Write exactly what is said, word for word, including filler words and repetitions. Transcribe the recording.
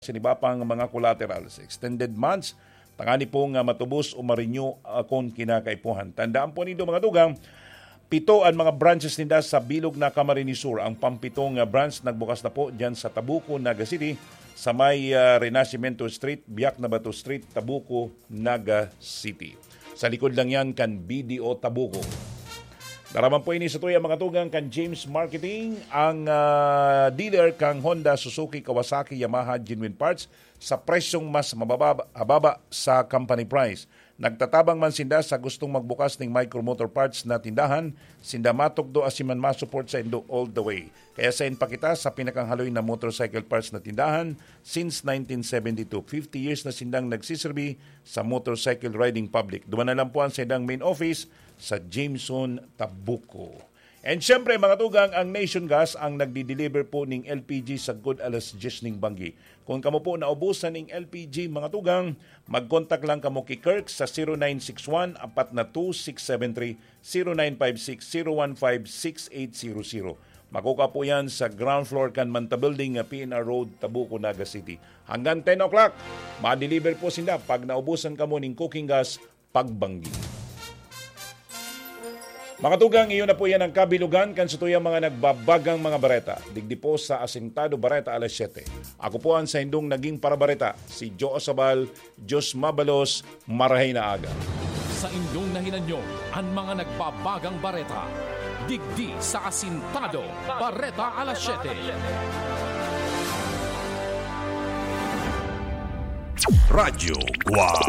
sa iba pang mga collaterals. Extended months, tangani pong, ah, matubos o ma-renew, ah, kun kinakaipuhan. Tandaan po nindo, mga tugang, pito an mga branches ninda sa bilog na Camarines Sur. Ang pampitong, ah, branch nagbukas na po diyan sa Tabuco, Naga City, sa may, ah, Renacimiento Street, Biak na Bato Street, Tabuco, Naga City. Sa likod lang yan kan B D O Tabuco. Daraman po ini sa tuya, mga tugang, kan James Marketing, ang, ah, dealer kang Honda, Suzuki, Kawasaki, Yamaha, genuine parts sa presyong mas mababa, hababa sa company price. Nagtatabang man sinda sa gustong magbukas ning Micro Motor Parts na tindahan, sinda matukdo asin man ma-support sa indo all the way. Kaya sain pa kita sa pinakahaloy na motorcycle parts na tindahan since nineteen seventy-two. Fifty years na sindang nagsiserbi sa motorcycle riding public. Duman na lang po ang saindang main office sa Jameson, Tabuco. And syempre, mga tugang, ang Nation Gas ang nagdi-deliver po ning L P G sagkod alas diyes ning banggi. Kung kamo po naubusan ning L P G, mga tugang, mag-contact lang kamo ki Kirk sa zero nine six one, apat na two, six seven three, zero nine five six, zero one five, six eight zero zero. Makukuha po yan sa ground floor kan Manta Building, ah, P N R Road, Tabuco, Naga City. Hanggang ten o'clock, ma-deliver po sinda pag naubusan kamo ning cooking gas pagbanggi. Mga tugang, iyon na po yan ang kabilugan kan satuyang mga nagbabagang mga bareta. Digdi po sa Asintado Bareta alas siyete. Ako po ang saindong naging parabareta, si Joe Sabal. Diyos mabalos, marahay na aga. Sa indong nahinanyo, an mga nagbabagang bareta. Digdi sa Asintado Bareta alas siyete. Radyo Guwang.